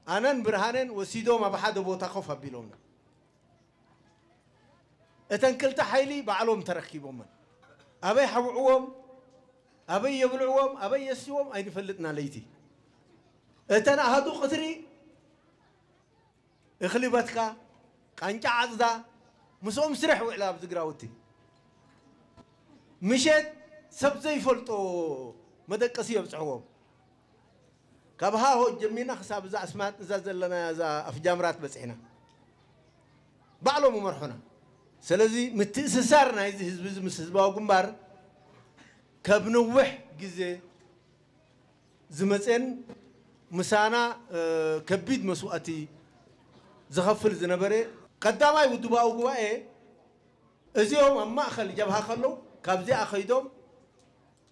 ኣነን ብርሃነን ወሲዶም ኣብ ሓደ ቦታ ኮፍ ኣቢሎምና። እተን ክልተ ሓይሊ ባዕሎም ተረኪቦመን። ኣበይ ሓብዕዎም፣ ኣበይ የብልዕዎም፣ ኣበይ የስዎም ኣይንፈልጥና። ለይቲ እተን ኣሃዱ ቅትሪ እኽሊ በትካ፣ ቃንጫ ዓጽዳ፣ ምስኦም ስርሕ ውዕላ ኣብዚ ግራውቲ። ምሸት ሰብ ዘይፈልጦ መደቀሲ የብጽሕዎም። ካብ ሃሆ ጀሚርና ክሳብ እዛ ኣስማጥ እዛ ዘለና እዛ ኣፍጃምራት በጺሕና። ባዕሎም ይመርሑና። ስለዚ ምትእስሳር ናይዚ ህዝቢ እዚ ምስ ህዝባዊ ግንባር ካብ ነዊሕ ግዜ ዝመፅን ምሳና ከቢድ መስዋእቲ ዝኸፍል ዝነበረ ቀዳማይ ውድባዊ ጉባኤ እዚኦም ኣብ ማእኸል ጀብሃ ከለዉ ካብዚኣ ከይዶም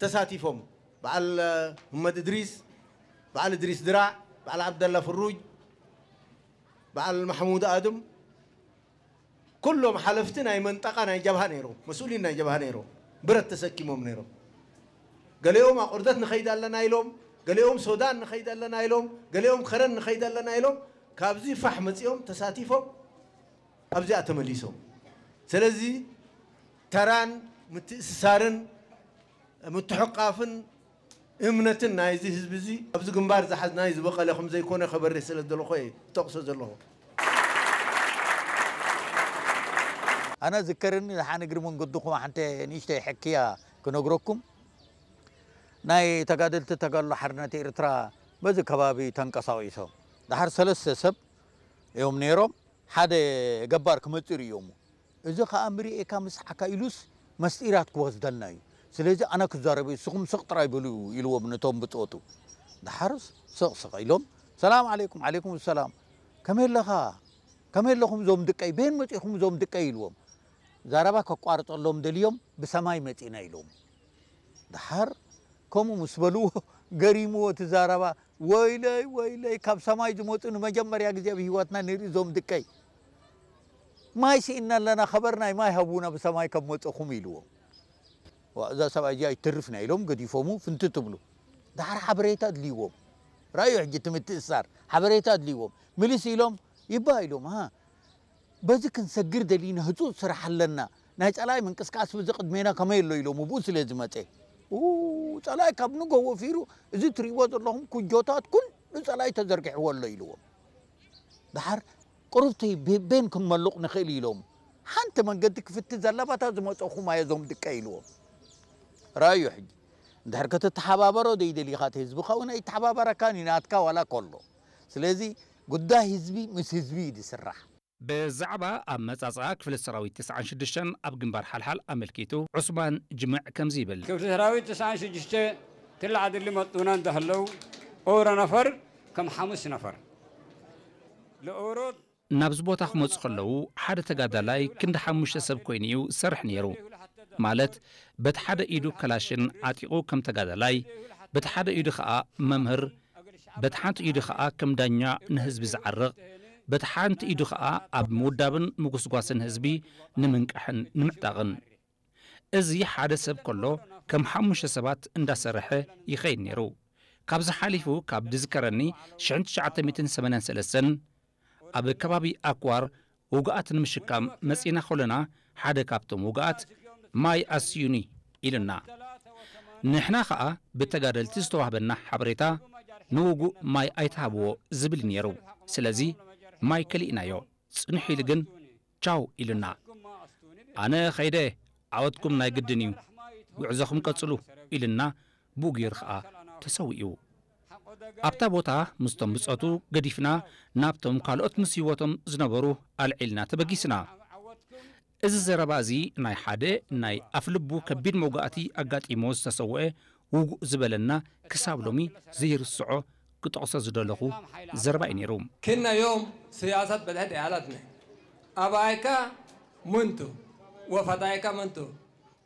ተሳቲፎም። በዓል መሐመድ እድሪስ፣ በዓል እድሪስ ድራዕ፣ በዓል ዓብደላ ፍሩጅ፣ በዓል ማሕሙድ ኣድም፣ ኩሎም ሓለፍቲ ናይ መንጠቃ ናይ ጀብሃ ነይሮም፣ መስኡሊን ናይ ጀብሃ ነይሮም፣ ብረት ተሰኪሞም ነይሮም። ገሊኦም ኣቁርደት ንኸይድ ኣለና ኢሎም፣ ገሊኦም ሶዳን ንኸይድ ኣለና ኢሎም፣ ገሊኦም ከረን ንኸይድ ኣለና ኢሎም፣ ካብዚ ፋሕ መፂኦም ተሳቲፎም ኣብዚኣ ተመሊሶም። ስለዚ ተራን ምትእስሳርን ምትሕቋፍን እምነትን ናይዚ ህዝቢ እዚ ኣብዚ ግንባር ዝሓዝናይ ዝበቐለ ከም ዘይኮነ ከበርህ ስለ ዝደለኹ እየ ዝጠቕሶ ዘለኹ። ኣነ ዝከረኒ ደሓን እግሪ መንገድኹም ሓንቲ ንእሽተይ ሕክያ ክነግረኩም። ናይ ተጋደልቲ ተጋድሎ ሓርነት ኤርትራ በዚ ከባቢ ተንቀሳቒሶም ደሓር ሰለስተ ሰብ እዮም ነይሮም። ሓደ ገባር ክመፅእ ርእዮሙ። እዚ ኸኣ ምርእየካ ምስሓካ ኢሉስ መስጢራት ክወስደልና እዩ። ስለዚ ኣነ ክዛረብ እየ፣ ንስኹም ስቕ ጥራይ በሉ ኢልዎም ነቶም ብጾቱ። ደሓርስ ስቕ ስቕ ኢሎም ሰላም ዓለይኩም። ዓለይኩም ሰላም። ከመይ ኣለኻ? ከመይ ኣለኹም እዞም ድቀይ? በየን መጺኹም እዞም ድቀይ? ኢልዎም። ዛረባ ከቋርጸሎም ደልዮም ብሰማይ መጺና ኢሎም። ደሓር ከምኡ ምስ በልዎ ገሪምዎ እቲ ዛረባ። ወይለይ ወይለይ ካብ ሰማይ ዝመፁ ንመጀመርያ ግዜ ኣብ ህይወትና ንርኢ እዞም ድቀይ። ማይ ስኢና ኣለና ከበር ናይ ማይ ሃቡና ብሰማይ ካብ መፀኹም ኢልዎም። ዋ እዛ ሰብኣይ እዚኣ ኣይትርፍና ኢሎም ገዲፎሙ ፍንቲ ትብሉ። ደሓር ሓበሬታ ኣድልይዎም። ራእዩ ሕጂ እቲ ምትእስሳር ሓበሬታ ኣድልይዎም። ምልስ ኢሎም ይባ ኢሎም ሃ በዚ ክንሰግር ደሊና ህፁፅ ስራሕ ኣለና ናይ ፀላኢ ምንቅስቃስ በዚ ቅድሜና ከመይ ኣሎ ኢሎም ብኡ ስለ ዝመፀ ኡ ፀላኢ ካብ ንጎ ወፊሩ እዚ ትሪእዎ ዘለኹም ኩጆታት ኩሉ ፀላኢ ተዘርጊሕዎ ኣሎ ኢልዎም። ደሓር ቁሩብቲ ቤን ክንመሉቕ ንኽእል ኢሎም ሓንቲ መንገዲ ክፍቲ ዘለባታ ዝመፀኹም ኣየ ዞም ድቀ ኢልዎም። ራእዩ ሕጂ እንድሕር ከተተሓባበሮ ዘይደሊኻ እቲ ህዝቢ ከውን ኣይተሓባበረካን እዩ ናትካ ዋላ ከሎ። ስለዚ ጉዳይ ህዝቢ ምስ ህዝቢ እዩ ዝስራሕ። ብዛዕባ ኣመጻጽኣ ክፍለ ሰራዊት ትስዓን ሽዱሽተን ኣብ ግንባር ሓልሓል ኣመልኪቱ ዑስማን ጅምዕ ከምዚ ይብል። ክፍለ ሰራዊት ትስዓን ሽዱሽተ ትላዓድሊ መጡና እንዳህለው ኦረ ነፈር ከም ሓሙስ ነፈር ለኦሮ ናብዚ ቦታ ክመጹ ከለዉ ሓደ ተጋዳላይ ክንዲ ሓሙሽተ ሰብ ኮይኑ እዩ ዝሰርሕ ነይሩ። ማለት በቲ ሓደ ኢዱ ከላሽን ዓጢቑ ከም ተጋዳላይ፣ በቲ ሓደ ኢዱ ኸኣ መምህር፣ በቲ ሓንቲ ኢዱ ኸኣ ከም ዳኛ ንህዝቢ ዝዓርቕ፣ በቲ ሓንቲ ኢዱ ኸኣ ኣብ ምውዳብን ምጉስጓስን ህዝቢ ንምንቃሕን ንምዕጣቕን። እዚ ሓደ ሰብ ከሎ ከም ሓሙሽተ ሰባት እንዳሰርሐ ይኸይድ ነይሩ። ካብዚ ሓሊፉ ካብ ድዝከረኒ ሽሕን ትሽዓተ ሚእትን ሰማንያን ሰለስተን ኣብ ከባቢ ኣክዋር ውጉኣት ንምሽካም መጺና ከሎና ሓደ ካብቶም ውጉኣት ማይ ኣስዩኒ ኢሉና። ንሕና ኸኣ ብተጋደልቲ ዝተዋህበና ሓበሬታ ንውጉእ ማይ ኣይትሃብዎ ዝብል ነይሩ። ስለዚ ማይ ከሊእናዮ። ጽንሕ ኢሉ ግን ቻው ኢሉና። ኣነ ኸይደ ዓወትኩም ናይ ግድን እዩ፣ ጉዕዞኹም ቀጽሉ ኢሉና ብኡ ገይሩ ኸኣ ተሰዊኡ። ኣብታ ቦታ ምስቶም ብጾቱ ገዲፍና ናብቶም ካልኦት ምስ ህይወቶም ዝነበሩ ኣልዒልና ተበጊስና። እዚ ዘረባ እዚ ናይ ሓደ ናይ ኣፍልቡ ከቢድ መውጋእቲ ኣጋጢሞ ዝተሰወአ ውጉእ ዝበለና ክሳብ ሎሚ ዘይርስዖ ክጠቕሶ ዝደለኹ ዘረባ እዩ ነይሩ። ክናዮም ስያሰት በድሐት ያላትነ ኣባይካ ምንቱ ወፈታይካ ምንቱ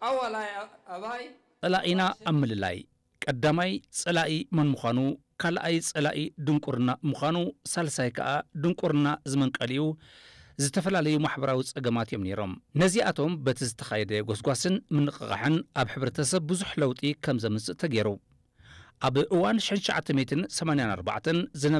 ኣወላይ ኣባይ ጸላኢና ኣብ ምልላይ ቀዳማይ ጸላኢ መን ምዃኑ፣ ካልኣይ ጸላኢ ድንቁርና ምዃኑ፣ ሳልሳይ ከኣ ድንቁርና ዝመንቀሊኡ ዝተፈላለዩ ማሕበራዊ ጸገማት እዮም ነይሮም። ነዚኣቶም በቲ ዝተኻየደ ጎስጓስን ምንቕቓሕን ኣብ ሕብረተሰብ ብዙሕ ለውጢ ከም ዘምጽእ ተገይሩ። ኣብ እዋን ሽሕን ትሽዓተ ሚእትን ሰማንያን ኣርባዕተን ዝነበረ